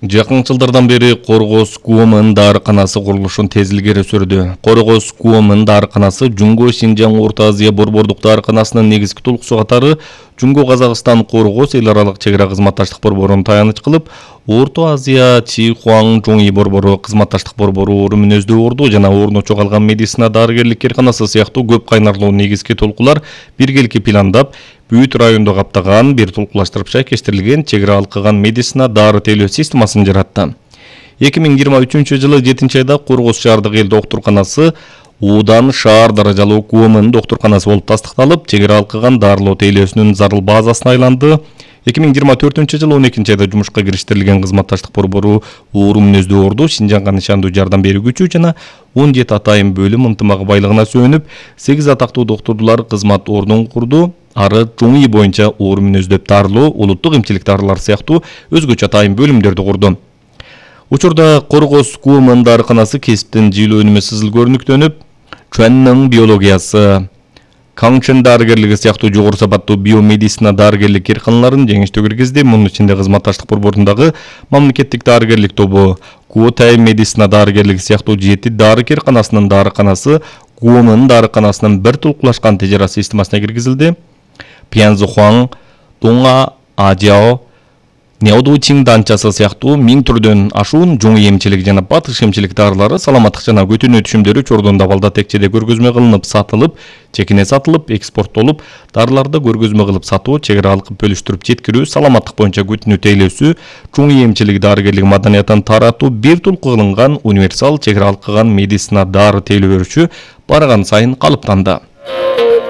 Жакын жылдардан бери Коргоз КУОМ дарыканасы курулушун тез илгери сүрдү. Коргоз КУОМ дарыканасы Жунго Синжаң Орто Азия борбордук дарыканасынын негизги толкусу катары Жунго Казакстан Коргоз эл аралык чек ара кызматташтык борборун таяныч кылып, Орто Азия Чихуаң Жоңи борбору кызматташтык борбору орун мүнөздүү орду жана орночо калган медицина дарыгерлик кээрканасы сыяктуу көп кайнарлуу негизги толкулар биргеликке пландап, бүт районду каптаган, бир толкулаштырып шайкештирилген чек ара алкыган медицина дары тейлөө системасын жаратты. 2023-жылы 7-айда Коргоз шаардык эл доктурканасы Удан шаар даражалуу КУОМ доктурканасы болуп тастыкталып, чек ара алкыган дарылоо тейлөөсүнүн зарыл базасына айланды. 2024-жылы 12-айда жумушка кириштирилген кызматташтык борбору орун мүнөздүү орду Синжаңга нышандуу жардам берүүчү жана 17 атайын бөлүм ынтымагы байлыгына сүйөнүп, 8 атактуу доктурлар кызмат ордун курду. Ары Жоңи боюнча орун мүнөздөп дарылоо, улуттук эмчилик дарылар сыяктуу өзгөчө атайын бөлүмдөрдү курду. Учурда Коргоз КУОМ дарыканасы кесиптин жыйылуу өнүмү сызыл көрүнүктөнүп, чуанның биологиясы, Каңчын дарыгерлиги сыяктуу жогору сапаттуу биомедицина дарыгерлик кээрканаларын жеңиштүү киргизди. Мунун ичинде кызматташтык борборундагы мамлекеттик дарыгерлик тобу, Куотай медицина дарыгерлиги сыяктуу 7 дары кээрканасынын дарыканасы КУОМ дарыканасынын бир толкулашкан тежара системасына киргизилди. Пьянзухуаң, Донга, Ажао, Неодучиң данчасы сыяктуу 1000 түрдөн ашуун жоңи эмчилик жана батыш эмчилик дарылары саламаттык жана көтүнүү түшүмдөрү Чордонда балда текчеде көргөзмө кылынып сатылып, чекине сатылып, экспорттолуп, дарыларды көргөзмө кылып сатуу, чек ара алкып бөлүштүрүп жеткирүү, саламаттык боюнча көтүнүү тейлөөсү, жоңи эмчилик дарыгерлик маданиятын таратуу бир толку кылынган универсал чек ара алкыган медицина дары тейлөө өрүшү барган сайын калыптанды.